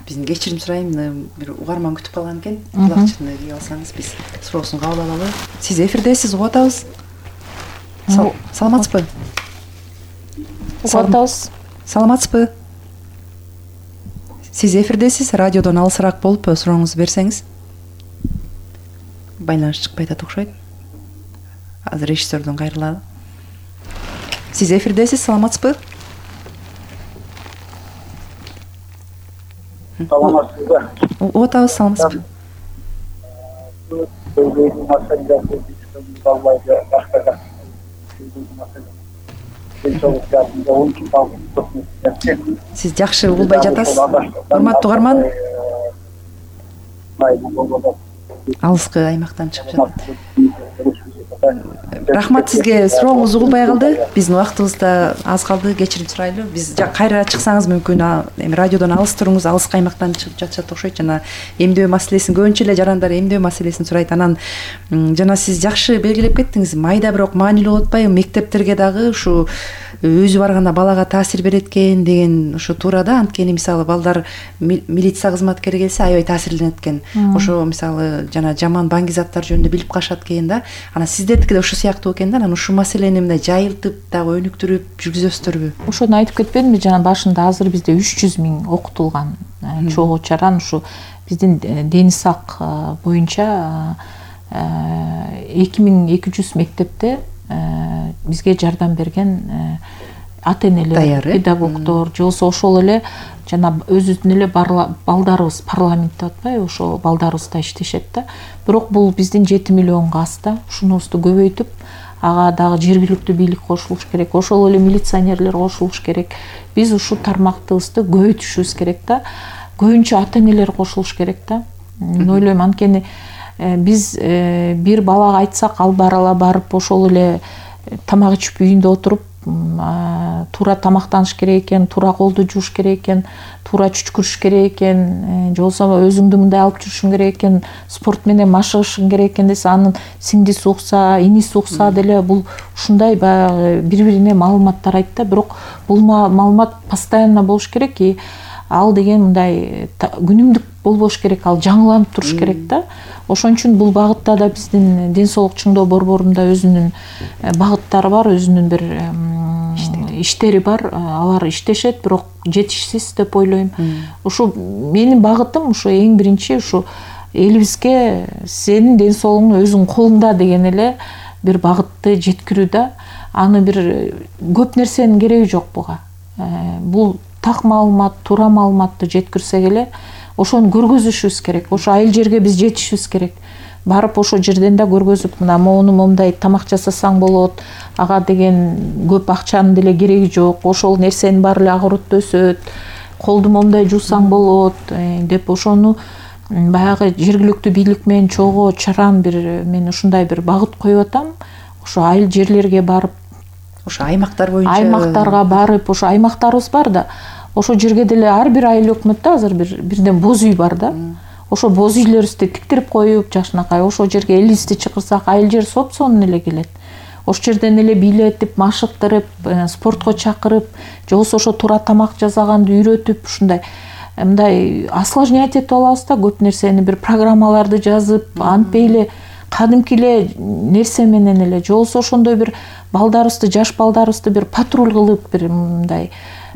Биздин кечирим сурайм, бир угарман күтүп калган экен. Кулакчыны кийип алсаңыз, биз суроосун кабыл алалы. Сиз эфирдесиз, угуп атабыз. Саламатсызбы? Угуп атабыз. Саламатсызбы? Сиз эфирдесиз, радиодон алысыраак болуп сурооңузду берсеңиз. Байланыш чыкпай атат окшойт. Азыр режиссердон кайрылалы. Сиз эфирдесиз, саламатсызбы? Саламатсызбы? Угуп атабыз, саламатсызбы? Сиз жакшы угулбай жатасыз. Урматтуу угарман, алыскы аймактан чыгып жатат. Рахмат сизге, сурооңуз угулбай калды. Биздин убактыбыз да аз калды, кечирим сурайлы. Биз кайра чыксаңыз мүмкүн эми радиодон алыс туруңуз, алыскы аймактан чыгып жатышат окшойт. Жана эмдөө маселесин көбүнчө эле жарандар эмдөө маселесин сурайт. Анан жана сиз жакшы белгилеп кеттиңиз. Майда бирок маанилүү болуп атпайбы? Мектептерге дагы ушу өзү барганда балага таасир берет экен деген ушу туура да. Анткени мисалы балдар милиция кызматкери келсе аябай таасирленет экен. Ошо мисалы жана жаман баңгизаттар жөнүндө билип калышат экен да. Анан сиздердики да ушул сыяктуу экен да. Анан ушул маселени мындай жайылтып дагы өнүктүрүп жүргүзөсүздөрбү? Ошону айтып кетпедимби жана башында? Азыр бизде үч жүз миң окутулган чогуу чаран ушу биздин Дени сак боюнча эки миң эки жүз мектепте бизге жардам берген ата энелер, педагогдор, же болбосо ошол эле жана өзүбүздүн эле балдарыбыз парламентте атпайбы, ошо балдарыбыз да иштешет да. Бирок бул биздин жети миллионго аз да. Ушунубузду көбөйтүп, ага дагы жергиликтүү бийлик кошулуш керек, ошол эле милиционерлер кошулуш керек. Биз ушул тармактыбызды көбөйтүшүбүз керек да. Көбүнчө ата энелер кошулуш керек да. Мен ойлойм, анткени биз бир балага айтсак, ал барала барып ошол эле тамак ичип үйүндө отуруп туура тамактаныш керек экен, туура колду жууш керек экен, туура чүчкүрүш керек экен, же болбосо өзүңдү мындай алып жүрүшүң керек экен, спорт менен машыгышың керек экен десе, анын сиңдиси укса, иниси укса деле бул ушундай баягы бири-бирине маалыматтар айтты да. Бирок бул маалымат постоянно болуш керек, и ал деген мындай күнүмдүк болбош керек, ал жаңыланып туруш керек да. Ошон үчүн бул багытта да биздин ден соолук чыңдоо борборунда өзүнүн багыттары бар, өзүнүн бир иштери бар. Алар иштешет, бирок жетишсиз деп ойлойм. Ушу менин багытым ушу эң биринчи ушу элибизге сенин ден соолугуң өзүңдүн колуңда деген эле бир багытты жеткирүү да. Аны бир көп нерсенин кереги жок буга. Бул так маалымат, туура маалыматты жеткирсек эле ошону көргөзүшүбүз керек. Ошо айыл жерге биз жетишибиз керек. Барып ошо жерден да көргөзүп, мына моуну момундай тамак жасасаң болот, ага деген көп акчанын деле кереги жок, ошол нерсенин баары эле огороддо өсөт, колду момундай жуусаң болот деп ошону баягы жергиликтүү бийлик менен чогуу чаран бир мен ушундай бир багыт коюп атам. Ошо айыл жерлерге барып, ошо аймактар боюнча аймактарга барып, ошо аймактарыбыз бар да. Ошо жерге деле ар бир айыл өкмөттө азыр бир бирден боз үй бар да. Ошо боз үйлөрүбүздү тиктирип коюп, жашынакай ошо жерге элибизди чакырсак, айыл жер соп-сонун эле келет. Ошол жерден эле бийлетип, машыктырып, спортко чакырып, же болбосо ошо туура тамак жасаганды үйрөтүп, ушундай мындай осложнять этип алабыз да, көп нерсени бир программаларды жазып, антпей эле кадимки эле нерсе менен эле, же болбосо ошондой бир балдарыбызды, жаш балдарыбызды бир патруль кылып, бир мындай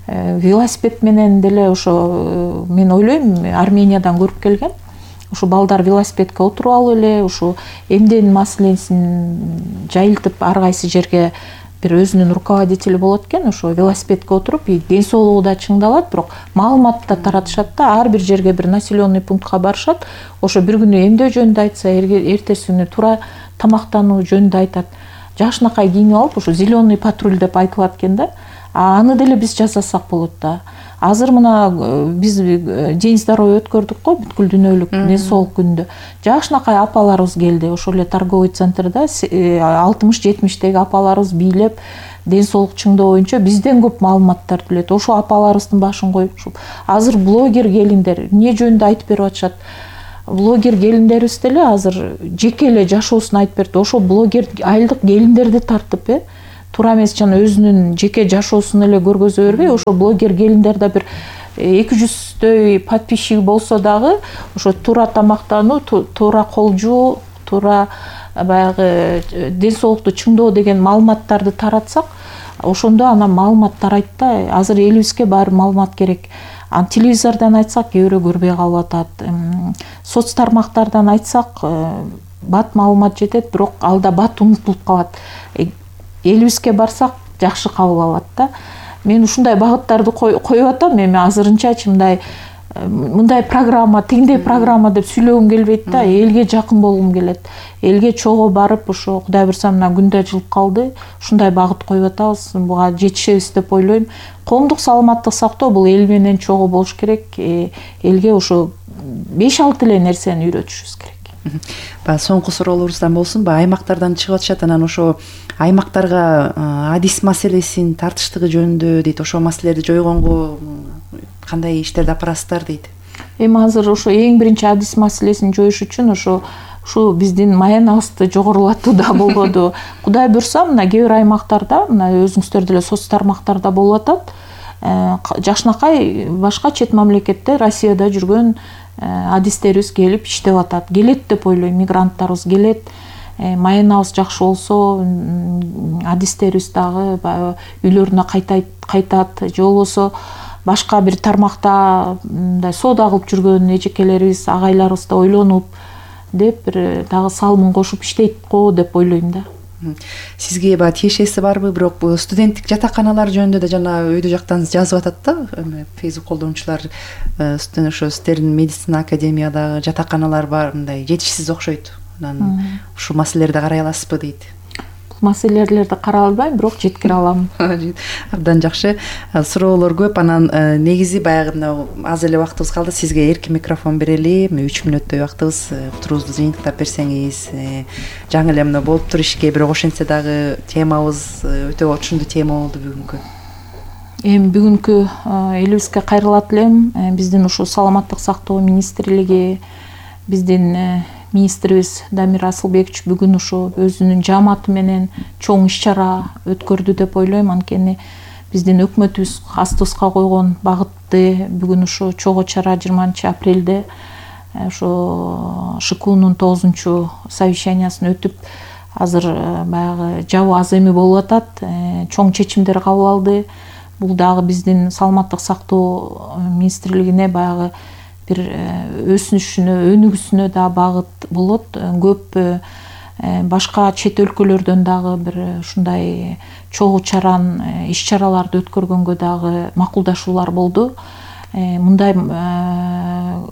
велосипед менен деле ошо мен ойлойм, Армениядан көрүп келген. Ошо балдар велосипедке отуруп алып эле, ошо эмден маселесин жайылтып ар кайсы жерге бир өзүнүн руководители болот экен, ошо велосипедке отуруп, ден соолугу да чыңдалат, бирок маалымат да таратышат да, ар бир жерге бир населенный пунктка барышат. Ошо бир күнү эмдөө жөнүндө айтса, эртеси күнү туура тамактануу жөнүндө айтат. Жашынакай кийинип алып, ошо зеленый патруль деп айтылат экен да. Аны деле биз жасасак болот да. азыр мына биз день здоровья өткөрдүк го, бүткүл дүйнөлүк ден соолук күнүндө. Жакшынакай апаларыбыз келди. Ошол эле торговый центрда алтымыш жетимиштеги апаларыбыз бийлеп ден соолук чыңдоо боюнча бизден көп маалыматтарды билет. Ошо апаларыбыздын башын коюп ушул азыр блогер келиндер эмне жөнүндө айтып берип атышат. Блогер келиндерибиз деле азыр жеке эле жашоосун айтып берди. Ошо блогер айылдык келиндерди тартып, э туура эмес жана өзүнүн жеке жашоосун эле көргөзө бербей, ошо блогер келиндер да бир эки жүздөй подписчиги болсо дагы ошо туура тамактануу, туура кол жуу, туура баягы ден соолукту чыңдоо деген маалыматтарды таратсак, ошондо анан маалымат тарайт да. Азыр элибизге баары маалымат керек. Ан телевизордон айтсак, кээ бирөө көрбөй калып атат. Соц тармактардан айтсак, бат маалымат жетет, бирок алда бат унутулуп калат. Элибизге барсак, жакшы кабыл алат да. Мен ушундай багыттарды коюп атам. Эми азырынчачы мындай мындай программа, тигиндей программа деп сүйлөгүм келбейт да. Элге жакын болгум келет. Элге чогуу барып, ошо Кудай буйрса мына күндө жылып калды. Ушундай багыт коюп атабыз. Буга жетишебиз деп ойлойм. Коомдук саламаттык сактоо бул эл менен чогуу болуш керек. Элге ошо беш алты эле нерсени үйрөтүшүбүз керек. Баягы соңку суроолорубуздан болсун, баягы аймактардан чыгып атышат, анан ошо аймактарга адис маселесин тартыштыгы жөнүндө дейт. Ошо маселелерди жойгонго кандай иштерди апарасыздар дейт. Эми азыр ошо эң биринчи адис маселесин жоюш үчүн ошо ушу биздин маянабызды жогорулатуу да болгоду. Кудай буйрса, мына кээ бир аймактарда, мына өзүңүздөр деле соц тармактарда болуп атат. Жакшынакай башка чет мамлекетте, Россияда жүргөн адистерибиз келип иштеп атат. Келет деп ойлойм, мигранттарыбыз келет. Маянабыз жакшы болсо, адистерибиз дагы үйлөрүнө кайтат, же болбосо башка бир тармакта мындай соода кылып жүргөн эжекелерибиз, агайларыбыз да ойлонуп деп бир дагы салымын кошуп иштейт го деп ойлойм да. Сизге баягы тиешеси барбы? Бирок студенттик жатаканалар жөнүндө да жана өйдө жактан жазып атат да. Facebook колдонуучулар ошо сиздердин медицина академиядагы жатаканалар бар, мындай жетишсиз окшойт. Анан ушул маселелерди карай аласызбы дейт. Бул маселелерди карай албайм, бирок жеткире алам. Абдан жакшы. Суроолор көп. Анан негизи баягы мына аз эле убактыбыз калды. Сизге эркин микрофон берели. үч мүнөттөй убактыбыз. Туруңузду жыйынтыктап берсеңиз, жаңы эле мына болуптур ишке бирок ошентсе дагы темабыз өтө отушундуу тема болду бүгүнкү. Эми бүгүнкү элибизге кайрылат элем. Биздин ушу саламаттык сактоо министрлиги, биздин министрибиз Дамир Асылбекович бүгүн ушу өзүнүн жааматы менен чоң иш-чара өткөрдү деп ойлойм. Анткени биздин өкмөтүбүз астыбызга койгон багытты бүгүн ушу чогуу чара жыйырманчы апрелде ошо ШКУнун тогузунчу совещаниясын өтүп, азыр баягы жабы аз эми болуп атат. Чоң чечимдер кабыл алды. Бул дагы биздин саламаттык сактоо министрлигине баягы бир өсүнүшүнө, өнүгүүсүнө да багыт болот. Көп башка чет өлкөлөрдөн дагы бир ушундай чогуу чаран, иш-чараларды өткөргөнгө дагы макулдашуулар болду. Мындай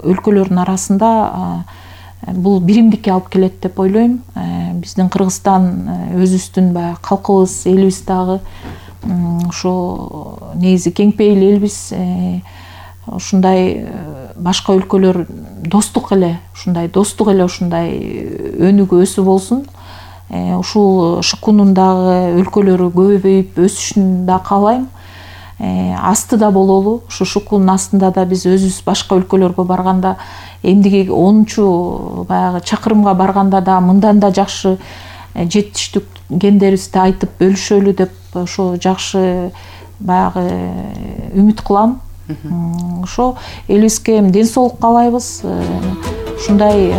өлкөлөрдүн арасында бул биримдикке алып келет деп ойлойм. Биздин Кыргызстан өзүбүздүн баягы калкыбыз, элибиз дагы ошо негизи кең пейил элбиз. Ушундай башка өлкөлөр достук эле, ушундай достук эле ушундай өнүгүү өсүп болсун. Ушул ШКУнун дагы өлкөлөрү көбөйүп өсүшүн да каалайм. Астыда бололу. Ушу ШКУнун астында да биз өзүбүз башка өлкөлөргө барганда, эмдиги онунчу баягы чакырымга барганда да мындан да жакшы жетиштиккендерибизди айтып бөлүшөлү деп ошо жакшы баягы үмүт кылам. Ошо элибизге ден соолук каалайбыз. Ушундай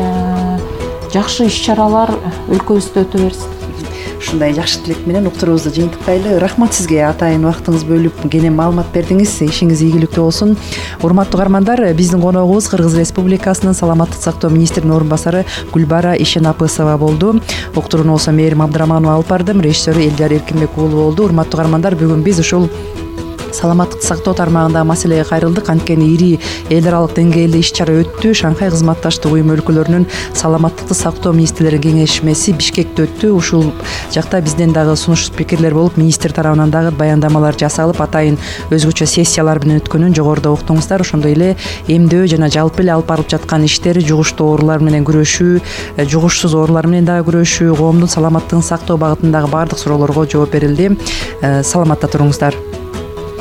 жакшы иш-чаралар өлкөбүздө өтө берсин. Ушундай жакшы тилек менен уктуруубузду жыйынтыктайлы. Рахмат сизге атайын убактыңызды бөлүп кенен маалымат бердиңиз. Ишиңиз ийгиликтүү болсун. Урматтуу угармандар, биздин коногубуз Кыргыз Республикасынын саламаттык сактоо министринин орун басары Гүлбара Ишенапысова болду. Уктурууну болсо Мээрим Абдыраманова алып бардым. Режиссеру Элдияр Эркинбек уулу болду. Урматтуу угармандар, бүгүн биз ушул саламаттыкты сактоо тармагындагы маселеге кайрылдык. Анткени ири эл аралык деңгээлде иш чара өттү. Шанхай кызматташтык уюму өлкөлөрүнүн саламаттыкты сактоо министрлеринин кеңешмеси Бишкекте өттү. Ушул жакта бизден дагы сунуш спикерлер болуп, министр тарабынан дагы баяндамалар жасалып, атайын өзгөчө сессиялар менен өткөнүн жогоруда уктуңуздар. Ошондой эле эмдөө жана жалпы эле алып барылып жаткан иштер, жугуштуу оорулар менен күрөшүү, жугушсуз оорулар менен дагы күрөшүү, коомдун саламаттыгын сактоо багытындагы баардык суроолорго жооп берилди. Саламатта туруңуздар.